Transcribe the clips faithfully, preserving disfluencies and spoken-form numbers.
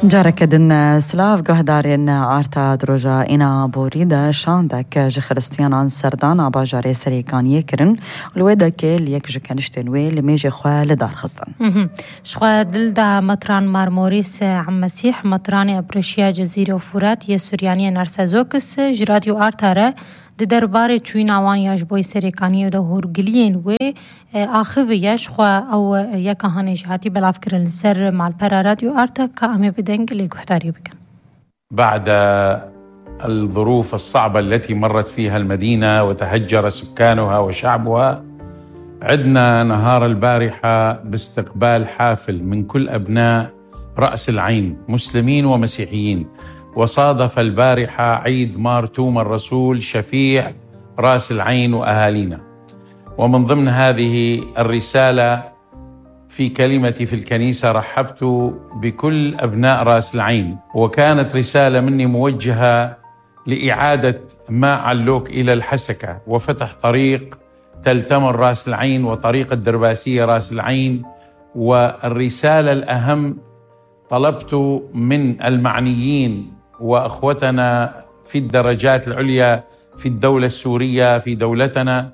جارك دن سلاف قهدارين عارتا دروجا إنا بوريدا شاندك جي خرستيان عن سردان عبا جاري سريكان يكرن الويدا كيل يك جي كانشتين ويل ميجي خواه لدار خصدان شخوا دل دا مطران مارموريس عم مسيح مطران أبرشيا جزيرة وفرات يسوريانية نرسازوكس جراديو آرتاره د درباره چوین آوان یاش بوی سریکانی و ده هرگلین و آخر یاش خوا او یک هانش هاتی بلاف کرن سر مال پر رادیو آرتا که امي بدنگ اللي قحتاريو بكن. بعد الظروف الصعبة التي مرت فيها المدينة وتهجر سكانها وشعبها، عدنا نهار البارحة باستقبال حافل من كل أبناء رأس العين مسلمين ومسيحيين، وصادف البارحة عيد مار توما الرسول شفيع رأس العين وأهالينا. ومن ضمن هذه الرسالة في كلمتي في الكنيسة رحبت بكل أبناء رأس العين، وكانت رسالة مني موجهة لإعادة ما علوك إلى الحسكة وفتح طريق تلتمر رأس العين وطريق الدرباسية رأس العين. والرسالة الأهم طلبت من المعنيين وأخوتنا في الدرجات العليا في الدولة السورية في دولتنا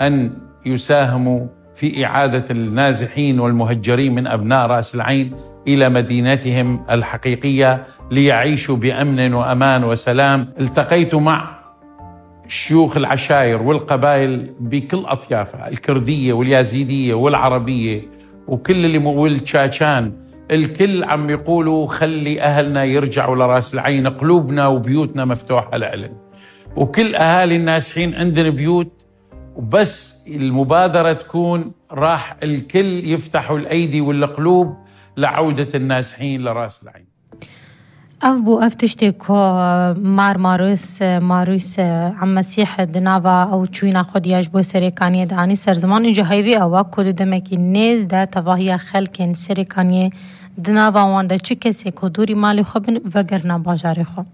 أن يساهموا في إعادة النازحين والمهجرين من أبناء رأس العين إلى مدينتهم الحقيقية ليعيشوا بأمن وأمان وسلام. التقيت مع شيوخ العشائر والقبائل بكل أطيافها، الكردية واليازيدية والعربية وكل اللي مولد تشاتشان، الكل عم يقولوا خلي أهلنا يرجعوا لرأس العين، قلوبنا وبيوتنا مفتوحة لأهلنا، وكل أهالي النازحين عندنا بيوت، وبس المبادرة تكون راح الكل يفتحوا الأيدي والقلوب لعودة النازحين لرأس العين. أف بو أف تشتكو مار ماروس ماروس عم مسيح دنافا أو تشوينا خدياش بو سريكانية داني سرزمان إنجا هايوي أوا كودو دمكي نيز دا تفاهيا خلقين سريكانية دنافا وان دا چه کسی که دوری مالی خوبن وگرنا باجاری خوب.